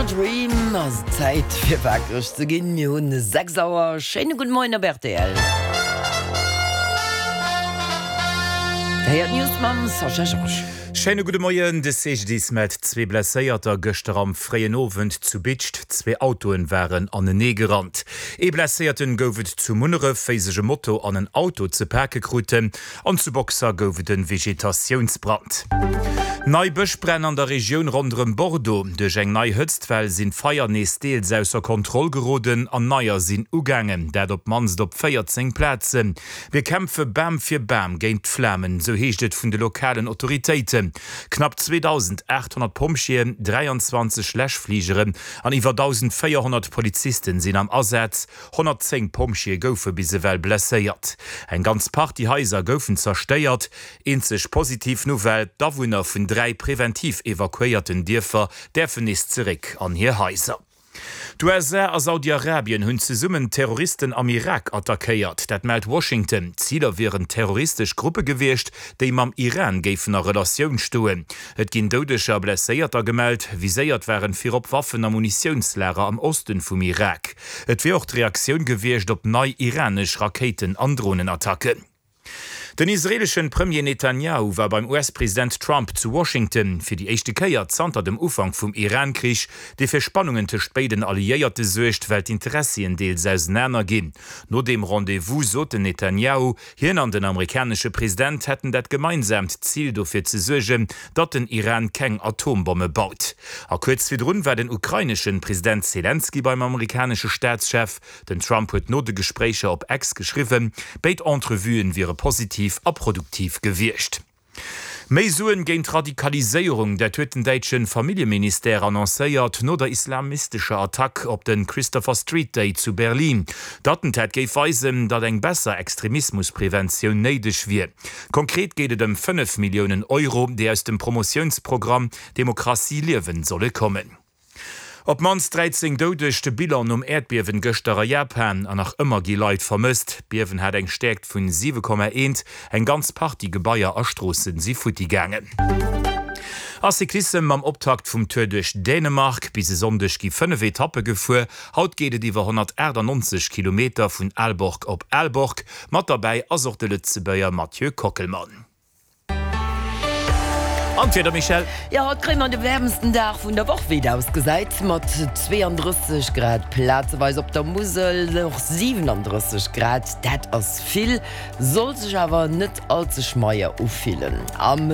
Dream ass et Zäit fir wakereg ze ginn. Mir hunn 6 Auer. Schéine gudde Moien op rtl. Héiert d'News mam Sascha Georges. Schéine gudde Moien. De CGDIS mellt zwee Blesséierter gëschter am fréien Owend zu Bidscht. Zwee Autoen waren anenee gerannt. Ee Blesséierten gouf et zu Munneref, wéi sech e Moto an en Auto ze pake kruten. An zu Boxer gouf et e Vegetatiounsbrand. Nei Bëschbränn an der Regioun ronderëm Bordeaux. Duerch eng nei Hëtztwell sinn d'Feier nees deels ausser Kontroll geroden an neier sinn ugaangen. Dat op d'mannst op 14 Plazen. Mir kämpfe Bam fir Bam géint d'Flamen, sou heescht et vun de lokalen Autoritéiten. Knapp 2.800 Pompjeeën, 23 Läschfligeren an iwwer 1.400 Polizisten sinn am Asaz. 110 Pompjeeë goufe bis ewell blesséiert. Eng ganz Partie Haiser goufen zerstéiert. Eenzeg positiv Nouvelle, D'Awunner vun 3 preventiv evakuéierten Dierfer däerfen nees zeréck an hir Haiser. D'USA a Saudi-Arabien hunn zesummen Terroristen am Irak attackéiert. Dat mellt Washington. Ziler wieren terroristesch Gruppe gewiescht, déi mam Iran géifen a Relatioun stoen. Et ginn Doudeger a Blesséierter gemellt. Viséiert waren virop Waffen a Munitiounslager am Osten vum Irak. Et wier och d'Reaktioun gewiescht op nei iranesch Rakéiten an Dronenattacken. Den israeeleschen Premier Netanjahu war beim US-President Trump zu Washington, fir déi éischte Kéier zanter dem Ufank vum Iran-Krich, dee fir Spannungen tëscht béiden Alliéierte suergt, well d'Interessien deels ausenaner ginn. No deem Rendez-vous sot den Netanjahu, Hien an den amerikanesche President hätten dat gemeinsaamt Zil dofir ze suergen, datt den Iran keng Atombomme baut. A kuerz virdrun war den ukraineschen President Selenskyj beim amerikanesche Staatschef. Den Trump huet no de Gespréicher op X geschriwwen, béid Entrevuen wiere positiv a produktiv gewiescht. Méi Suen géint Radikaliséierung, dat huet den däitsche Familljeministère annoncéiert no der islamistescher Attack op de Christopher Street Day zu Berlin. D'Attentat géif weisen, datt eng besser Extremismuspreventioun néideg wier. Konkret geet et ëm 5 Milliounen Euro, déi aus dem Promotiounsprogramm Demokratie liewen solle kommen. Op d'mannst 13 Doudeg, de Bilan nom Äerdbiewen gëschter a Japan. An nach ëmmer gi Leit vermësst. D'Biewen hat eng Stäerkt vun 7,1. Eng ganz Partie Gebaier a Stroosse si futti gaangen. A Cyclissem mam Optakt vum Tour duerch Dänemark. Bis e Sonndeg gi 5 Etappe gefuer. Haut geet et iwwer 198 Kilometer vun Aalborg op Aalborg. Mat derbäi ass och de Lëtzebuerger Mathieu Kockelmann. An d'Wieder, Michèle? Jo, haut kréie mer de wäermsten Dag vun der Woch, wéi et ausgesäit, mat 32 Grad plazeweis op der Musel, och 37 Grad, dat ass vill, soll sech awer net all ze schmeier ufillen. Am.